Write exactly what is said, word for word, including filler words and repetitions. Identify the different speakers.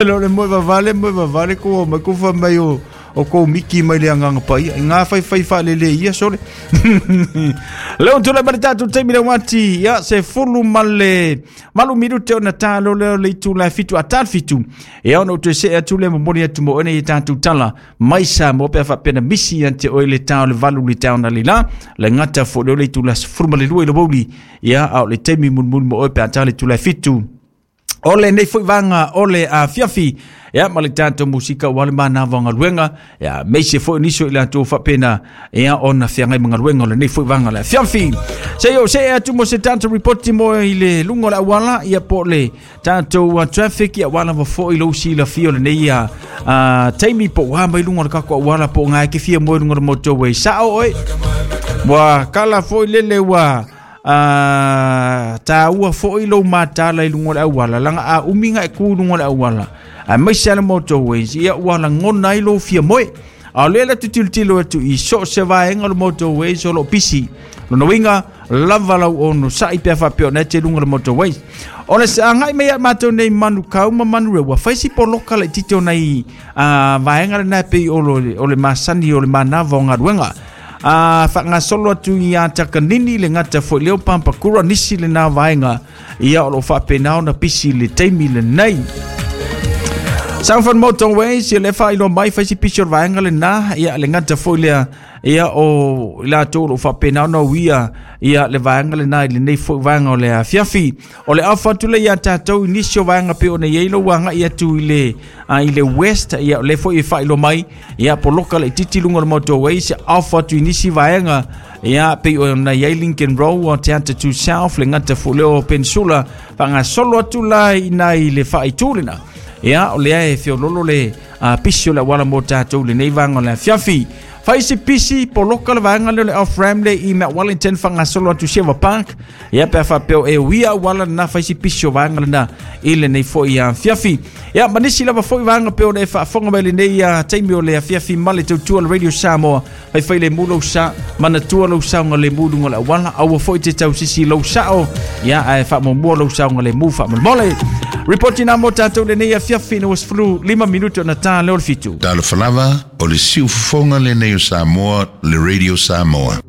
Speaker 1: Le moe vavale, moe vavale ko mai ko fa mai o o ko miki mai le agaga paia i ngā faifai faalelē ia sole leo tula ma le tatou taimi le uati ia se fulu ma le valu minute ona tā leo le itula e fitu a tā le fitu ia ona ou toe see atu le momoli atu mo oe nei tatou tala mai Samoa pe a faapea na misi ia te oe le tā o le valu le tā ona le la le gata foʻi leo le itula sefulu ma le lua i le wouli ia a o le taimi mulimuli mo oe pe a tā le itula e fitu o lenei foʻi vaga o le afiafi ia ma le tatou musika ua le manava o galuega ia meise foʻi nisi o i latou faapena ia ona feagai ma galuega o lenei foʻi vaga o le afiafi se o see atu mo se tatou ripoti mo i le luga o le auala ia po o le tatou uh, traffic ia ua lava foʻi lou silafia o lenei uh, uh, taimi po ua mai luga o le kako auala po o gae ke fia mo i luga o le motorway sao oe ua kala foʻi lele ua uh, tāua foʻi lou matala i luga o le auala laga a umiga e ku luga o le auala a maise ale motorways ia ua lagona ai lou fia moe a o lea le tutilotilo atu i so o se vaega o le motorways o loo pisi lona uiga lava lau ono saʻi pea faapea ona e te luga o le motorways o le agai mai ia matou nei Manukau ma Manurewa fai si poloka laititi o nai uh, vaega lena e pei o le, o le masani o le manava o galuega a faagasolo atu ia Takanini le gata foʻi leo Papakura nisi lena vaega ia o loo faapena ona pisi le taimi lenei Southern Motorways ia le faailoa mai fai si pisi o le vaega lena ia le gata foʻi lea ia o i latou o loo faapena ona uia ia le vaega lena i lenei foʻi vaega o le afiafi o le afa atu le ia tatou i nisi o vaega pe ona iai lou agaʻi atu i le uh, i le west ia o le foʻi e faailoa mai ia poloka laititi luga o le motorways afa atu i nisi vaega ia pei ona iai Lincoln Road o Te Atatu South le gata foʻi leo Peninsula faagasolo atu la ina i le faaitu lena ia o lea e feololo le uh, pisi o le auala mo tatou lenei vaega o le afiafi fai se pisi poloka le vaega lea o le off ramp le i Mount Wellington faagasolo atu Silver Park ia pe a faapea e uia auala lena fai si pisi o vaega lena i lenei foʻi afiafi ia ma nisi lava foʻi vaega pe ona e faafofoga mai lenei uh, taimi o le afiafi ma le tautua le Radio Samoa faifai le mu lou sa manatua lou saoga le mu luga o le auala aua foʻi te tausisi lou sao ia ae faamuamua lou saoga le mu faamolemole ripoti na mo tatou lenei afiafi na ua sefulu lima minute ona tā leo le fitu.
Speaker 2: Talofa lava, o le siufofoga lenei o Samoa, le Radio Samoa.